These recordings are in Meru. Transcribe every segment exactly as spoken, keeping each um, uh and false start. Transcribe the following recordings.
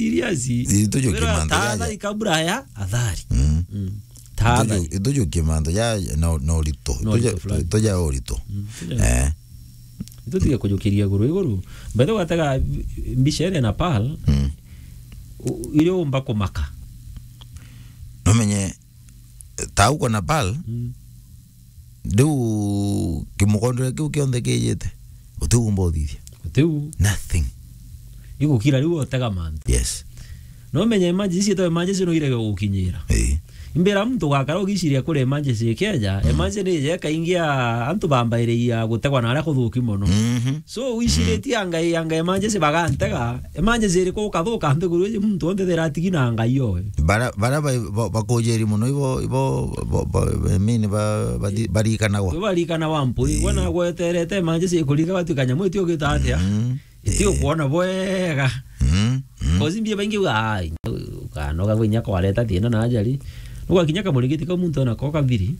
serious. Itujukie mantu jaja. Tahadhari kabla ya athari. Mm. Mm. Tahadhari. Ituju-, itujukie mantu ja na, na urito. Na urito fulani. Ituja urito. Mm, ituja. Eh. Itutige kujukiria iguru iguru. By the way, watega mbica ene na Pearl. Mm. U-, iria umba kumaka. Numenye, ta uko na Pearl, mm, riu kimugondere kiu kionthe kijite, utiu umba uthithia. Utiu. Nothing. Igukira riu utega mantu. Yes. No menye emergency, to emergency no irege gukinyira. Eh. Imbira muntu ugakara ugiciria kuri emergency ikeja, mm, emergency ni ije kaingi ya antu bambairiria gutegwa na aria kuthuki mono. Mhm. So, wiciritie, mm, anga, anga emergency bagantega, emergency iriku ukathuka nthiguru iji muntu onthe thira atigi na Ngai owe. Bara, bara ba, ba, bakujeri mono ibo, ibo, ba, ba, I mean, ba, ba, barikanagwa. Ibo barikanagwa mpui, eh, bona gweterete emergency ikurika batuika nyamu iti ugita atia? Mm. Iti, eh, ukwona bwega. Mm, mm. Kozi mbia baingi uga, ai, ukanoga gwe inya kwareta thina na ajali. Nugakinya kamuringiti kau muntu ona ko kathiri.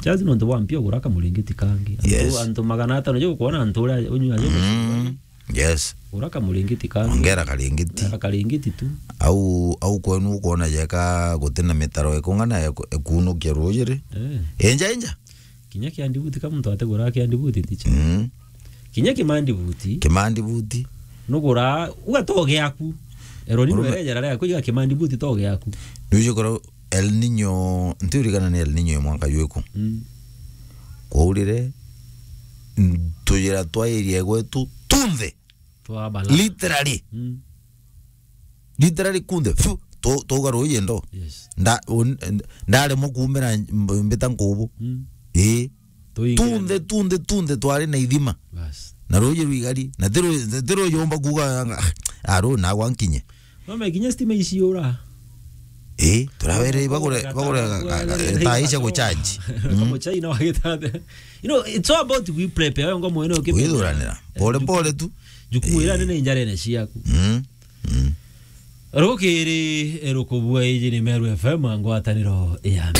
Just nontu bwa mpia ugura kamuringiti kangi. Antu, yes, antu magana atano jo ukwona antu uria unyua jo. Mm. Yes. Ura kamuringiti kangi. Ongera karingiti. Ongera karingiti tu. Au, au kwenu ukwona jeka gutina mitaro ikung'ana eku-, ekunukia ruuji ri? Eh. Inja, inja. Kinya kiandibuti ka muntu ategura kiandibuti ticha. Mm. Kinya kimandibuti. Kimandibuti. Nugura, ugatoge aku. Eroni. Murume. Nwerejera ria kuiga kimandibuti toge aku. Nujikora El Nino, ntiurikana ni El Nino ya mwaka jwiku. Mm. Kwaurire, tuyira twa area gwetu tunthe. Twabala. Literally. Mm. Literally kunthe. Fu, tu-, tuga ruuji ndo. Yes. Nda-, un-, ndaremwa kuumira mb-, mbita nkubu. Mm. Ii. Tuingira. Tunthe, tunthe, tunthe twari na ithima. Bas. Na ruuji rwigari. Na ti ru-, ti ruuji umba kuuga, ah, ah, ruu nagwa nkinye. Mama, kinya stima iciura. Eh, turawere bagure, bagure, bagure, ga, ga, ga, ga, taa icia gucharge. Mm. Kama China wagitata. You know, it's all about we prepare. Wewe ngo mwene ukipe. Withuranira. Eh, pole pole tu. Jukumu ira nene injarene ciaku. Mm. Mm. Rukiri rukubua iji ni Meru F M ngwataniro ya.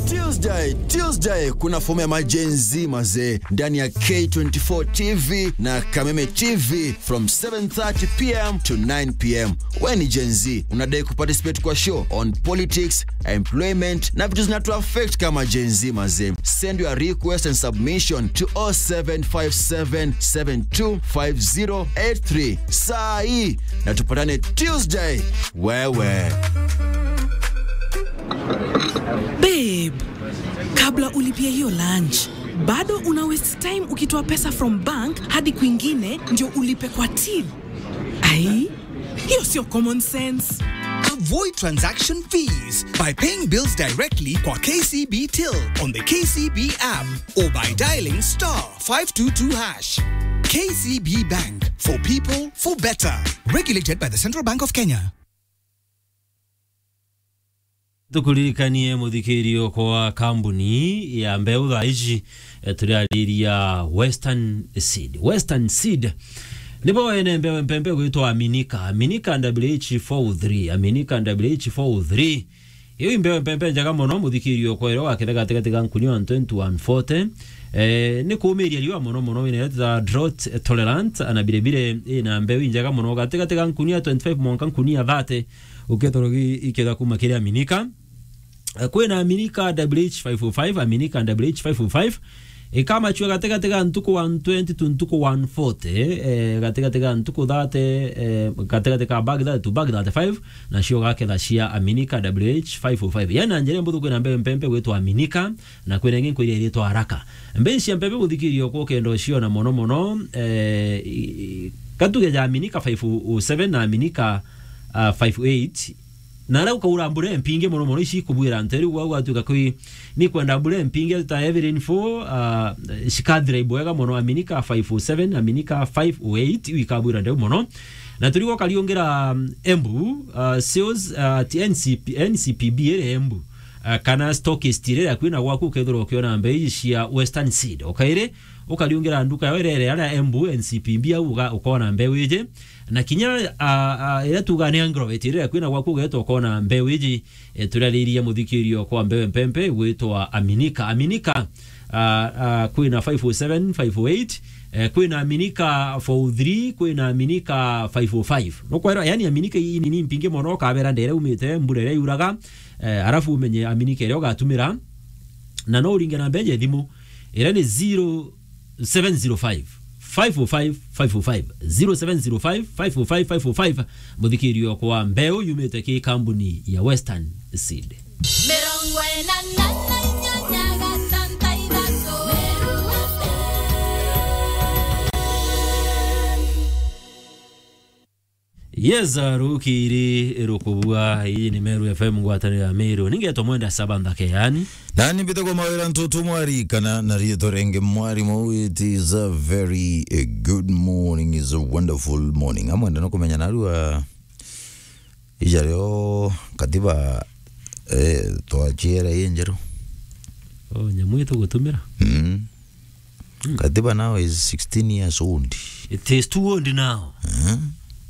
Tuesday, Tuesday, kuna fomu ya ma Gen Z mazee ndani ya K twenty-four T V na Kameme T V from seven thirty p m to nine p m. Wewe ni Gen Z, unadai kuparticipate kwa show on politics, employment na vitu zinatu affect kama Gen Z mazee? Send your request and submission to oh seven five seven seven two five zero eight three. Saa hii na tupatane Tuesday. Wewe. Babe, kabla ulipie hiyo lunch, bado una waste time ukitoa pesa from bank hadi kwingine ndio ulipe kwa till. Ai, hiyo sio common sense. Avoid transaction fees by paying bills directly kwa K C B Till on the K C B app or by dialing star five two two hash. K C B Bank, for people, for better. Regulated by the Central Bank of Kenya. Tukuririkanie muthikiririo kwa kambuni ya mbeu thaa ici, eh, turiariria Western Seed. Western Seed nibo ene mbeu mpempe gwitwa Aminika. Aminika W H four oh three. Aminika W H four oh three. Iu i mbeu mpempe njega mono, muthikiririo kwa iro waketha gatigati ga nkunia one twenty to one forty. Eh, ni kuumiria riua mono mono, wina iria twita drought tolerant, na bire bire ina mbeu injega mono gatigati ga nkunia twenty-five mwanka nkunia thirty. Ukethirwa gi-, iketha kuma kiri Aminika. Eh, kwina Aminika W H five oh five, Aminika W H five oh five. Ikamachua gatigati ga ntuku one twenty to ntuku one forty, eh, gatigati ga ntuku thirty, eh, gatigati ka bag thirty to bag thirty-five, nacio gaketha cia Aminika W H five oh five. Yani na njira imbuthu kwina mbeu mpempe gwitwa Aminika, na kwina ingi nkwira iritwa Haraka. Mbeu cia mpempe muthikiririo kwa ukenda uciona mono mono, eh, i-, i-, gatuge ja Aminika five oh seven na Aminika, ah, five oh eight, na aria ukaura mbura mpingi mono mono ici ikubwira nte riu gwau gwatuika kwi ni kwenda mbura mpingi ta heavy rainfall, ah, cikathira ibwega mono Aminika five oh seven, Aminika five oh eight, iu ikabwira ndeu mono. Na turigo kariungira, mm, Embu, ah, sales, ah, ti N C P, N C P B iri Embu, ah, kana stockist iri akui na gwaku ukethirwa ukiona mbeu ici cia Western Seed. Ukairi, ukariungira nduka yo irere aria Embu N C P B au uga-, ukona mbeu iji. Na kinya, ah, ah, iria tuga ni agrovet iria kwina gwaku ugeeta ukona mbeu iji, eh, turariria muthikirio kwa mbeu mpempe gwitwa Aminika. Aminika, ah, ah, kwina five oh seven, five oh eight, Eh, kwina aminika four oh three, kwina aminika five oh five. Nukwera, yani aminika ii nini mpingi mono, ukabera ndere umite, mbura iria yuraga, eh, arafu umenye aminika iria ugatumira. Na no uringe namba ya thimu, iria ni zero seven zero five, five oh five, five oh five, zero seven zero five, five oh five, five oh five. Muthikirio kwa mbeu yumite ki kambuni ya Western Seed. Mirongo ina na inyanya gatanta ithatu. Yes, rukiri rukubua. Ii ni Meru F M, ngwataniro ya Meru. Ningetwa Mwenda Saba Nthake, yani. Na ni mbite kwa mawira ntutu mwari kana na riitwa ringi mwarimu. It is a very, eh, good morning, is a wonderful morning. Amwenda no kumenya narua Ija rio katiba, eh, twachiera i njeru. Oh, nyamu itugutumira? Mm. Mm. Katiba now is sixteen years old. It is too old now. Eh?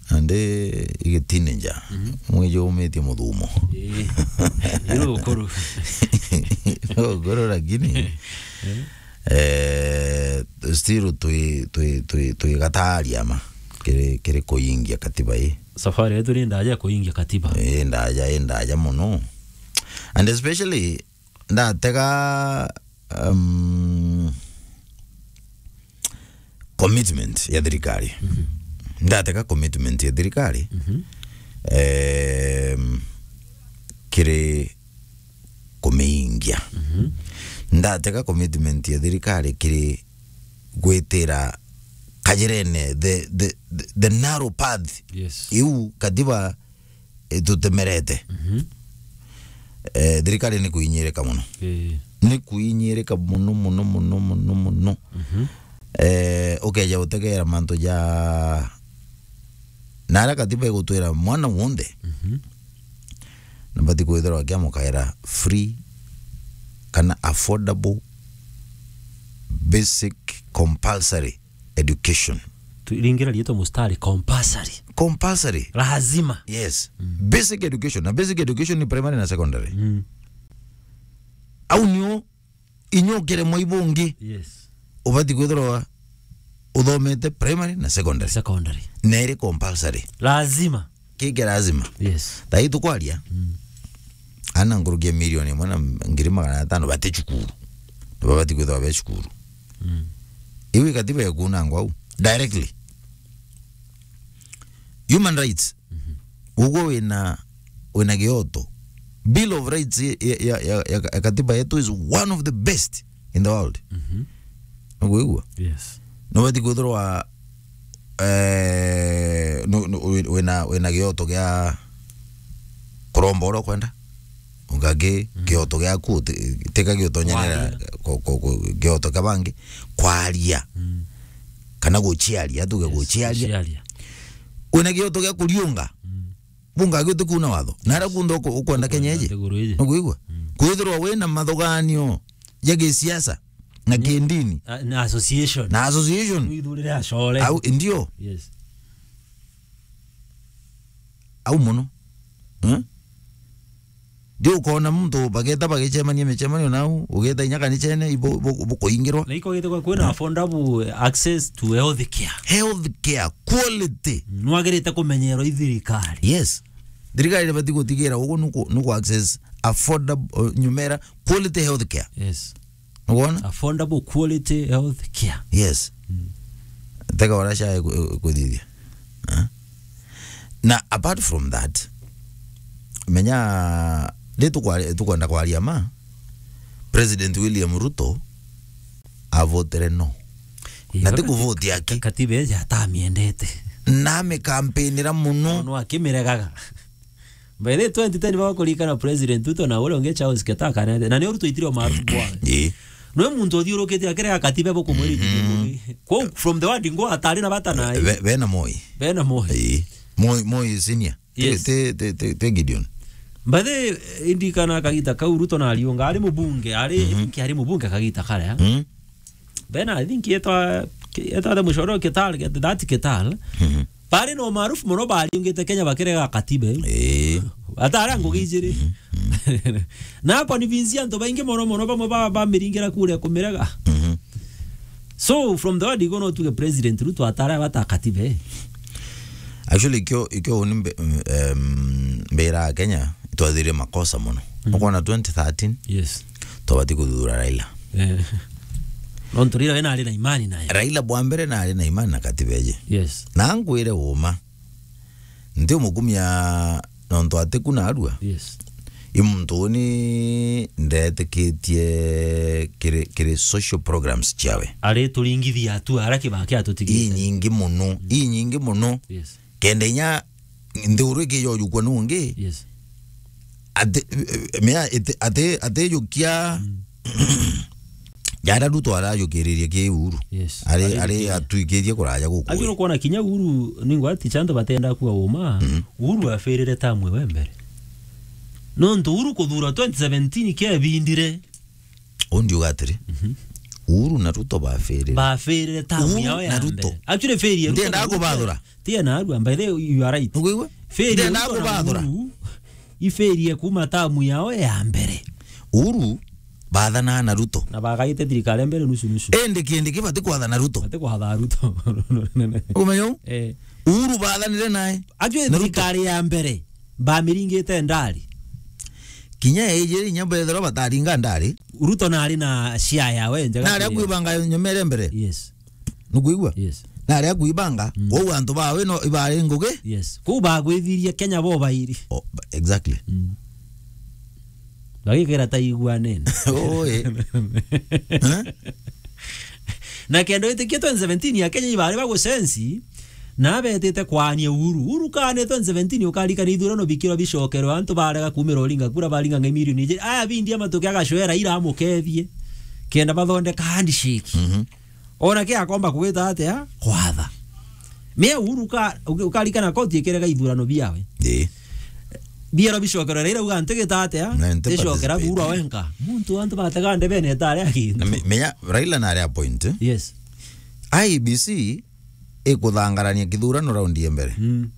And, eh, igitinenja. Mm. Mwiji umitie muthumo. Eh. Iro ukuru. Iro ukuru lakini. Eh? Eh, still twi, twi, twi, twi gataari ama kiri, kiri kuingia katiba ii. Safari yetu ni ndaja ya kuingia katiba. Ii ndaja, ii ndaja mono. And especially, ndatega, um, commitment ya thirikari. Mhm. Ndatega commitment ya thirikari, mhm, em, kiri kumiingia. Mhm. Ndatega commitment ya thirikari kiri gwitira kajirene, the, the, the, the narrow path. Yes. Iu katiba itutemerete. Mhm. Eh, thirikari ni kuinyirika mono. Eh. Ni kuinyirika mono, mono, mono, mono, mono. Mhm. Eh, ukeja utegera mantu ja na aria katiba igutwira mwana wonthe, mhm, nabati kwithirwa akiamukaira free kana affordable basic compulsory education. Turingira riitwa mustari, compulsory. Compulsory. Lazima. Yes. Mm. Basic education. Na basic education ni primary na secondary. Mm. Au nio inyokere mwai bungi. Yes. Ubati kwithirwa uthomete primary na secondary. Secondary. Na iri compulsory. Lazima. Kiki lazima. Yes. Thai tukwaria. Mm. Ana nkuruki ya milioni imwe na ngiri magana atano bati cukuru. Nibabati kwithirwa be cukuru. Mm. Iu ikatiba ikunangwa au. Directly. Human rights. Mhm. Ugwe wina, wina gioto. Bill of Rights ya, ya, ya, ya, ya katiba yetu is one of the best in the world. Mhm. Nukwigua? Yes. Nubati kwithirwa, eh, nu-, nu-, wi-, wina, wina gioto gia kuromba uria ukwenda. Ungangi, mm, gioto giaku ti-, tika giutonyanira kwaria, ku-, ku-, ku-, gioto kia bangi. Kwaria. Mm. Kana guciaria, tuge, yes, guciaria. Guciaria. Wina gioto gia kuriunga. Mm. Bunga gio tukuna watho. Na ara kunthe uku-, ukwenda Kenya iji. Nthiguru iji. Nukwigua? Mm. Kwithirwa wina mathuganio ja gisiasa na, mm, kindini. A-, na association. Na association. Withurire acore. Au, ndio. Yes. Au mono. Eh? Ndio ukona muntu bageta bagicemania micemanio nau, ugeta inya kanichene, ibo, ibo, ibo kuingirwa. Na iko gete kwa kwina, eh, affordable access to health care. Health care, quality. Nwagirite kumenyerwa i thirikari. Yes. Thirikari ibati gutigira ugu nuku, nuku access affordable, uh, nyumera quality health care. Yes. Nukwona? Affordable quality health care. Yes. Mm. Tega ora cha ku-, kuthithia. Eh? Na apart from that, menya, ri tukwari-, tukwenda kwaria ma, President William Ruto avotere no. Ii, na ti katiba, kuvote aki. Katiba iji atamiendete. Na amikampeinira muno. No akimiregaga. By the way, twenty ten bakurikana President Ruto na uria ungi Charles Ketaa kanete. Na ni uru twaitire umaarufu bwa. Ii. Nwe muntu uthiurukite akirega katiba bukumwirikithia, mhm, mugi. Kwou from the word go atari na bata na. Be-, bena Moi. Bena Moi. Ii. Moi, Moi senior. Yes. Te, te, te, te, te Gideon. By the way, indikana kagita kau Ruto na Ariunga ari mubunge, ari, mhm, I think ari mubunge kagita karia. Mhm. Then I think etwa, etwa the Mushoro Ketal, that Ketal. Mhm. Bari na umaarufu muno bariungite Kenya bakirega katiba iu. Ii. Atara ngugi ijiri. Mhm. Mhm. Na kwa ni vinci antu baingi muno muno bamwe ba, bamiringira kuria kumirega. Mhm. So, from the word go, no tuge President Ruto atara bata katiba, eh? Actually, ikio, ikio uni mbe-, um, mbira ya Kenya, itwathire makosa muno. Mm. Ukona twenty thirteen, yes, twabati kuthura Raila. Eh. Nontu Raila we nari na imani naye. Raila bwa mbere nari na imani na katiba iji. Yes. Na ngwire uma, nti umukumia nontu atiku narua. Yes. I muntu uni ndetikitie kiri, kiri social programs ciawe. Arituringithia tu ara kibaki atutigie. Inyingi muno, inyingi muno. Yes. Kenda inya nthiguru ikijojukua nungi. Yes. Ati, mea, iti, ati, atijukia. Mm. Jara Ruto arajukiririe ki Uhuru. Yes. Ari, ari atuikirie kuraja guku. Ajuru kuona kinya Uhuru, ningwa ti chanto batenda kuwa uma. Mhm. Uhuru afirire tamu we mbere. Nontu Uhuru kuthura twenty seventeen kebindire. Undi uga atiri, mhm, Uhuru na Ruto bafirire. Bafirire tamu yao ya mbere. Uhuru na Ruto. Actually, failure. Ndienda kubathura. Tia na arua, by the way, you are right. Nukwigua? Failure. Ndienda kubathura. Uhuru ifirie kuma tamu yao ya mbere. Uhuru bathanaa na Ruto. Na bagaite thirikari mbere nusu nusu. Indi kindi kibati kwatha na Ruto. Bati kwatha Ruto. Umenya u? Eh. Uhuru bathanire nae. Actually, na Ruto. Thirikari ya mbere bamiringite ndari. Kinya ejiri inya bethirwa bataringa ndari. Ruto nari na share yawe njega. Nari akwibanga nyomere mbere. Yes. Nukwigua? Yes. Na aria kuibanga, mm, kwou antu bawe no ibari ngugi? Yes. Kuu bagwithirie Kenya bo bairi. Oh, ba-, exactly. Mm. Bagikira ta iguanene. Oi. Eh? Na kenda witikie twenty seventeen ya Kenya ibari bagucensi, na betite kwania Uhuru. Uhuru kane twenty seventeen ukarikana ithurano bikirwa bicokerwa, antu barega kumira uringa kura baringa ngai milioni ijiri. Aya bindi amatuke agacwera ira amukethie. Kenda bathondeka handshake. Mhm. Ona ke akomba kugita atia? Kwatha. Mea Uhuru ka-, uka-, ukarikana koti ikerega ithurano biawe. Ii. Biero bicokerwa Raila uga ntigita atia? Na nti participate. Ticokera Uhuru wenka. Muntu antu batega ndebene etare akintu. Na me-, menya Raila nari a point, eh? Yes. I E B C ikuthangarania kithurano raundi ya mbere. Mm.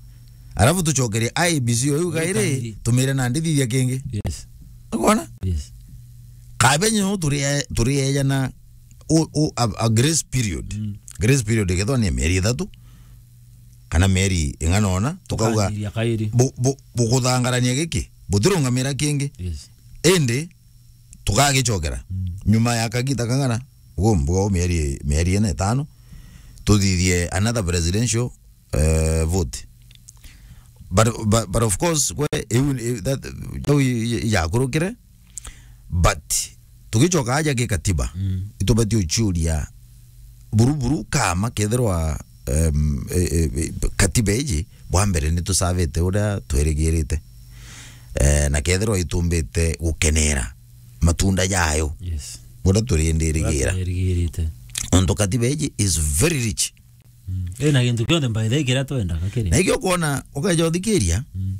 Arafu tucokerie I E B C oyu gairi, gairi, tumire na ndithithia kingi. Yes. Ukona? Yes. Kabenye no turi, turi ejana o, o, a, a grace period. Mm. Grace period ikethwa ni mieri ithatu, kana mieri ing'ana ona, tukauga, tukanyiria kairi. Bu-, bu-, bukuthangarania giki, butirungamira kingi. Yes. Indi, tukagicokera. Mm. Nyuma ya kagita kang'ana, ugu mbuga u mieri, mieri ina itano, tuthithie another presidential, eh, vote. But, but, but of course, kwe, iu, iu, that, jau i-, i-, ijakurukire, but tugicoka aja gikatiba, mm, itubati uciuria buru buru kama kethirwa, em, e, e, e, katiba iji bwa mbere nitusavite uria twerigirite. Eh, na kethirwa itumbite gukenera matunda jayo. Yes. Uria turindirigira. Uria turindirigira. Ontu katiba iji is very rich. Mm. Ina gintu kionthe by the way kiria twendaga kiri. Na ikio kwona, ukeja uthikiria, mm,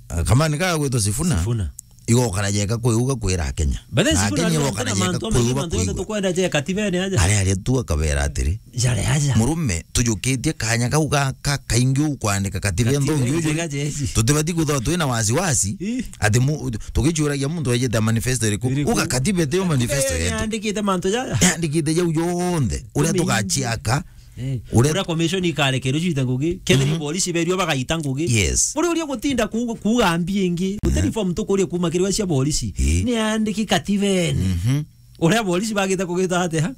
ah, kamani ka gwitwa Sifuna, Sifuna, igokara jeka kwiuga kwira Akenya. But then na Sifuna Akenya ari igokara na jeka mantu, kwiuga mantu yonthe kwiuga. Tukwenda je katibene aja. Ari, ari tu akabera atiri, jare aja. Murume, tujukitie kanya kau ga, ka, kaingi ukwandika katiba nthongi uju. Katibene aja iji. Tutibati kuthwa twina wasiwasi, ii, ati mu-, tugichuragia muntu ejete manifesto iriku. Iriku? Uga katiba itiyo manifesto yetu. Yandikite mantu jaja. Yandikite jau jonthe. Uria tugachiaka. Eh, uria, uria commission ikarekerwa cita ngugi, kethiri, mhm, polisi berua bagaita ngugi. Yes. Buri uria gutinda ku-, kuuga mbi ingi, mhm, gutiri form tukuria kuma kiri cia polisi. Ii. Ni andiki katibene. Mhm. Uria polisi bagite kugita atia?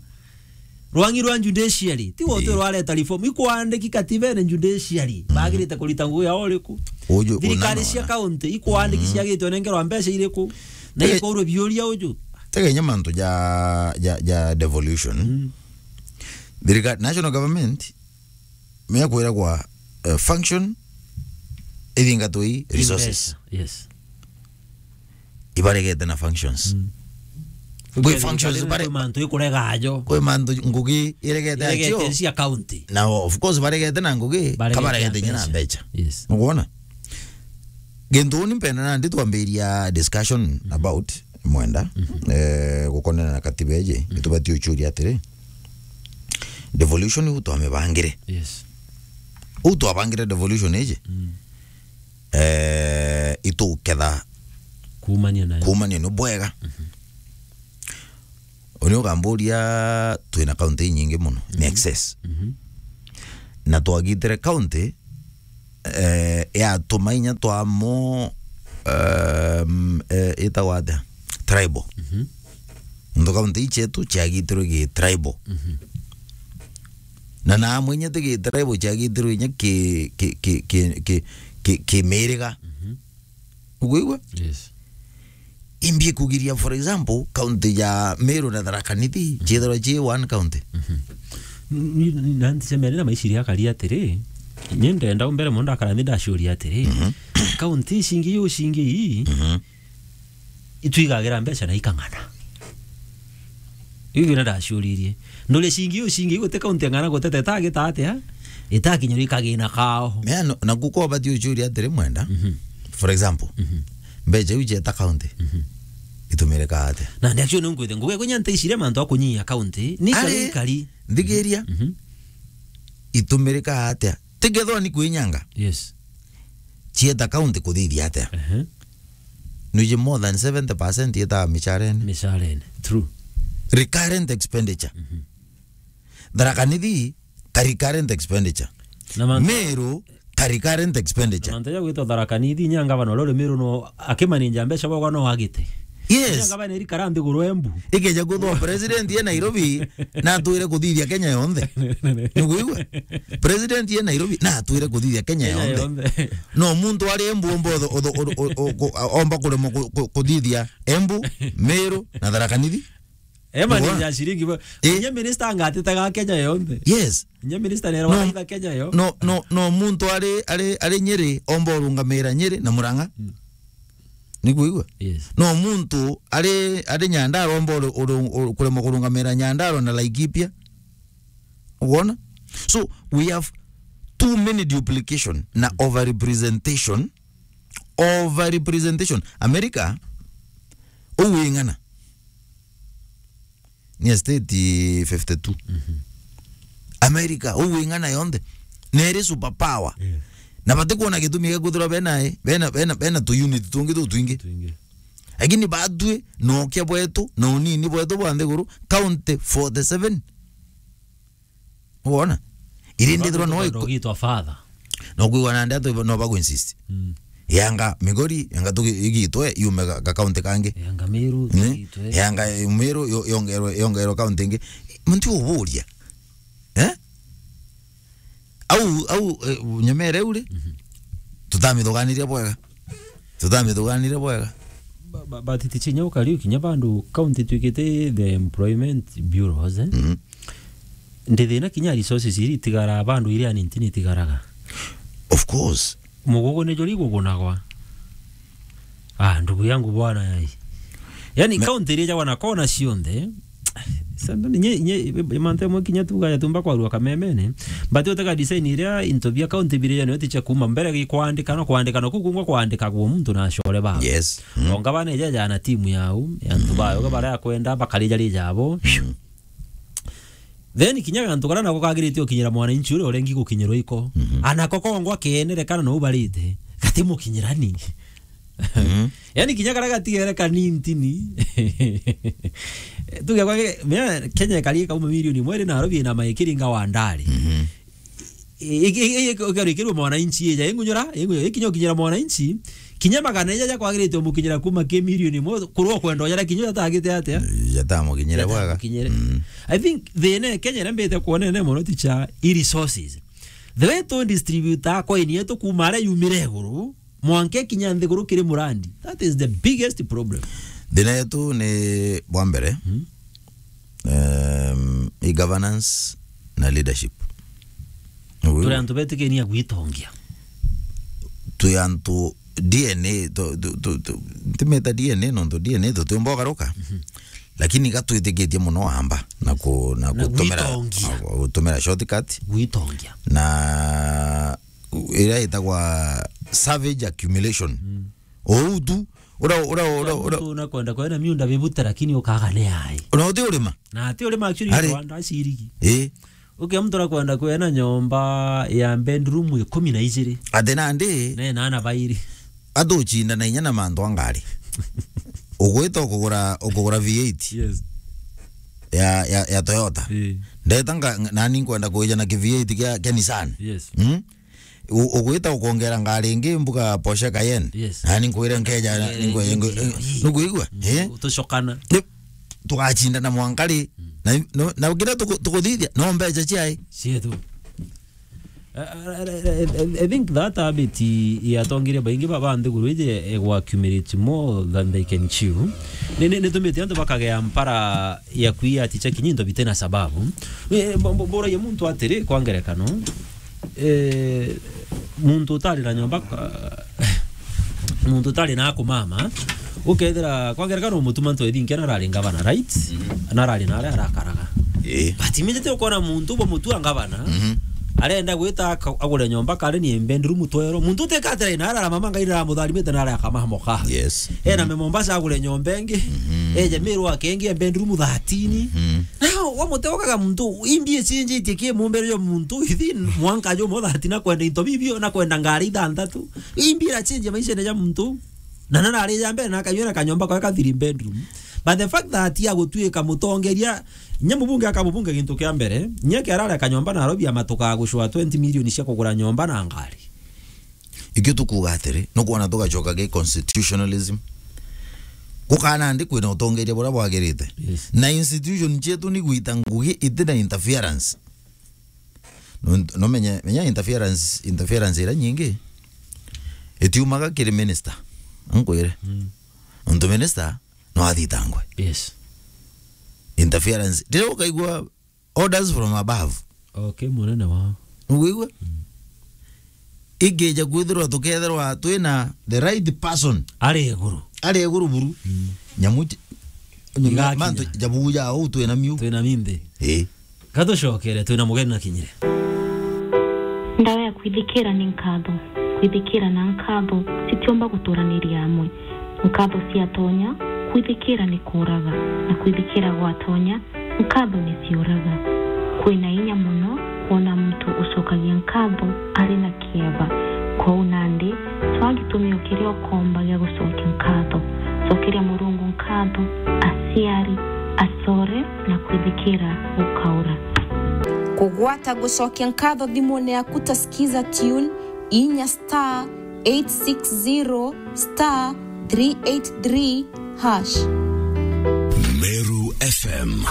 Rwangi rwa judiciary, ti wote, ii, rwareta reform, ikwandiki katibene judiciary. Mhm. Bagirite kurita ngugi yao uriku? Uju, thirikari cia county, ikwandiki, mhm, ciagitwe nengerwa mbeca iriku? Na tege-, ikorwe biuria uju. Tege inya mantu ja, ja, ja devolution. Mm. Thirikari, national government, mekwiragwa, eh, function ithingatwe i resources. Yes. Ibaregete na functions. Mm. Kwi functions bare-, kwi mantu ikurega ajo. Kwi mantu ngugi iregete acio. Iregete cia county. Na of course baregete na ngugi, baregete kabaregete inya na mbeca. Yes. Nukwona? Gintu uni mpenda nandi twambiria discussion, mhm, about mwenda, mhm, eh, gukonena na katiba iji, mhm, nitubati uchuria atiri, devolution iu twamibangire. Yes. Uu twabangire devolution iji, mm, eh, ituketha kumania nayo, kumania ni bwega. Mhm. Uni ukamburia, twina county inyingi muno, ni excess. Na twagitire county, eh, yatuma inya twamo, um, eh, itagwa atia? Tribal. Nontu county ichetu ciagitirwe gi tribal. Na namwe inya ti gi tribal, ciagitirwe inya ki, ki, ki, ki, ki, ki, ki miriga. Ukwigua? Yes. Imbi kugiria, for example, county ya Meru na Tharaka Nithi, ciithirwa ci one county. Ni, ni, na ntisemere na maiciria akari atiri, ni ndenda mbere mono ndakara nthi ndaciuria atiri, county icingi yu cingi ii, itwigagira mbeca na ikang'ana. Iu ndio ndaciuririe. Nduri cingi yu cingi guti county ng'ana gutete itagita atia? Itakinyirwa ikagina kao. Mea no, na kuko bati uciuria atiri mwenda. For example, mbeca iu cieta county, itumirika atia? Na ndio actually nunkwite nguge kunya nteicire mantu akunyia county. Ni kari, ari, kari. Nthigiria. Itumirika atia? Tikethwa ni kwinyanga. Yes. Cieta county kuthithia atia? Ehe. Nuji more than seventy percent yetaga micharene. Micharene. True. Recurrent expenditure. Tharaka Nithi ka recurrent expenditure. Na man- Meru ka recurrent expenditure. Mantu ja gwitwa Tharaka Nithi, inya ngavana uria uri Meru no akimaninja mbeca bwagwa no agite. Yes. Inya ngavana eri kara nthiguru Embu. Ikeja kwithwa president ye Nairobi, na atwire kuthithia Kenya yonthe. Nukwigua? President ye Nairobi, na atwire kuthithia Kenya yonthe. No muntu ari Embu omba utho-, utho-, utho-, utho-, utho-, omba kuremwa ku-, ku-, kuthithia Embu, Meru, na Tharaka Nithi. Ema ni ya ciringi bo. Eh. Nye minister angatitaga Kenya yonthe. Yes. Nye minister nera wanaitha Kenya yo. No, no, no muntu ari, ari, ari Nyeri, omba urungamira Nyeri na Murang'a. Ni kuigua? Yes. No muntu ari, ari Nyandarua omba uru-, uru-, uru-, kuremwa kurungamira Nyandarua na Laikipia. Uona? So, we have too many duplication na overrepresentation. Overrepresentation. America, uu wing'ana. Ni a state fifty-two. America, uu wing'ana yonthe. Neri superpower. Yes. Na batikwona gitumi gia kwithirwa bena, bena, bena, bena tu unit tungi tutwingi. Twingi. Lakini batwi, na ukia bwetu, na unini bwetu bwa nthiguru, county forty-seven. Wona? Iri ndithirwa no iko- Ndogitwa father. No kwigua na ndeto no bagu insist. Yanga Migori, yanga tugi igitwe, yume ga, ga county kangi. Yanga Meru, igitwe. Yanga Meru, yo-, yongerwe, yongerwe county ingi. Muntu uburia. Eh? Au, au, eh, nyemere uri? Tutamithuganiria bwega. Tutamithuganire bwega. Ba-, ba-, but tichinya ukari ukinya bandu county twikite the employment bureaus, eh? Ndi thina kinya resources iri itigara bandu iri anintini itigaraga. Of course. Mugugu ni jori gugunagwa. Ah, ndugu yangu bwana yai. Yani county iri jagwa na kona cionthe, Sasa, nye, nye, mantu amwe kinya tuga ya tumba kwarua kamemene, but utega design iria into bia county biria niyo ticha kuma mbere gi kwandika no kwandika no kukungwa kwandika kwa muntu na ashore ba. Yes. Onga bana eja jana timu yau, ya ntu bayo ga bara ya kwenda bakarija rija abo. Then kinya gantu kara nako kagirite ukinyira mwananchi uria urengi gukinyirwa iko. Anako kongwa kenere kana no ubarite. Gati mukinyirani. Yani kinya karia gatigere kanintini. Tuge kwa mea Kenya ikari ikauma milioni imwe iri Nairobi ina maikiri nga wandari. Ikarikirwa mwananchi ija ingunyura, ingunyura, ikinya ukinyira mwananchi, kinya magana ija ja kwagirite umukinyira kuma ki milioni imwe, kurwa kwenda ujara kinya jatagite atia? Jatamukinyire bwega. Jatamukinyire. I think thina Kenya ira mbite kuonene mono ticha i resources. The way tu distribute coin yetu kuma aria yumire iguru, mwanka ikinya nthiguru kiri murandi. That is the biggest problem. Thina yetu ni bwa mbere, um, i governance na leadership. Turi antu betikenia gwitongia. Twi antu D N A, tu, tu, tu, tu, ntimeta D N A, nontu D N A tutiumba ugaruka. Lakini ga twitikitie muno amba na ku-, na Na gutumira, gwitongia. Na gutumira shortcut. Gwitongia. Na iria itagwa savage accumulation. Ou tu, ura, ura, ura, ura. Mtu unakwenda kwena miunda mibute, lakini ukaga ni ai. Una uti urima? Na ati urima actually Ari. Rwanda cirigi. Eh. Ukia mtu urakwenda kwena nyomba ya bedroom ikumi na ijiri. Ati nandi. Ne na ana bairi. Ati ucinda na inya na mantu a ngari. Ugwita ukugura, ukugura V eight. Yes. ya, ya, ya Toyota. Eh. Ndeta nga-, nani nkwenda kwija na ki V eight kia, kia Nissan. Yes. Mm? U-, ugwita ukongera ngari ingi mbuga Porsche Cayenne. Yes. Nani nkwire nkeja, eh, ningwe-, eh, ningwe-, eh, nukuigua? Mm, eh? Tucokana. Ni-, tugacindana mwanka ri? Mm. Na, no, na kira tuku-, tukuthithia, no mbeca ciai? Cietu. I, I, I, I, I think that habit i-, yatongeria baingi ba, ba nthiguru iji igwa accumulate more than they can chew. Ni, ni, nitumite antu bakagea mpara ya kwia ati cha kinyi into bitina sababu. Eh, bo-, bo-, boragia muntu atiri, kwa ngerekano, eh, muntu utari na nyomba, ah, muntu utari na kumama, ukethira, kwa ngerekano, mutuma ntwe thinkia narari ngavana, right? Mhm. Narari na aria arakaraga. Eh. But immediately ukona muntu bo mutua ngavana, mhm, arenda gwita aka-, agure nyomba kare ni bedroom twero. Muntu utekatira ina arara mama ngai aramutharimite na aria akamaha moka. Yes. Ena me Mombasa agure nyomba ingi. Mhm. Eje Meru akengi bedroom thirteen. Mhm. Now, wa muteo kaga muntu, imbi ichinjitie ki mumbere yo muntu, ithi mwanka jo mo thirteen na kwenda into bibio na kwenda ngari ithanthatu. Imbi ira change maisha ja muntu. Na nana ari ja mbere na akanyua na kanyomba kwa ka three bedroom. But the fact that ya gutuika mutongeria, nye mubunge aka mubunge gintu kia mbere, nye kiarare kanyomba Nairobi amatuka gucwa twenty million cia kugura nyomba na ngari. Ikio tukuga atiri, nukwona tugacoka gi constitutionalism. Gukana ndi kwina utongeria buria bwagirite. Yes. Na institution cietu ni gwita ngugi itina interference. No, no menya, menya interference, interference ira nyingi itiumaga kiri minister. Nkwire. Mm. Nontu minister no athitangwe. Yes. Interference. Riria ukaigua orders from above. Okay, munene wao. Nukwigua? Mm. Ingija kwithirwa tukethirwa twina the right person. Ari iguru. Ari iguru buru. Mm. Nyamu ti-, igakinya. Mantu jabu ja uu twina miu. Twina minthi. Eh. Katucokere, twina mugeni na kinyire. Ndawa ya kwithikira ni nkatho. Kwithikira na nkatho citiumba guturaniria amwe. Nkatho ciatonya, kwithikira ni kuuraga, na kwithikira gwatonya, nkatho ni ciuraga. Kwina inya mono kwona muntu ucokagia nkatho ari na kieba. Kwou nandi, cwaa gitumi o kiria ukomba gia gucokia nkatho. Cokeria Murungu nkatho, aciari, acore, na kwithikira gukaura. Kugwata gucokia nkatho thimune yaku ta Skiza Tune, inya star eight six zero star three eight three hash. Meru F M.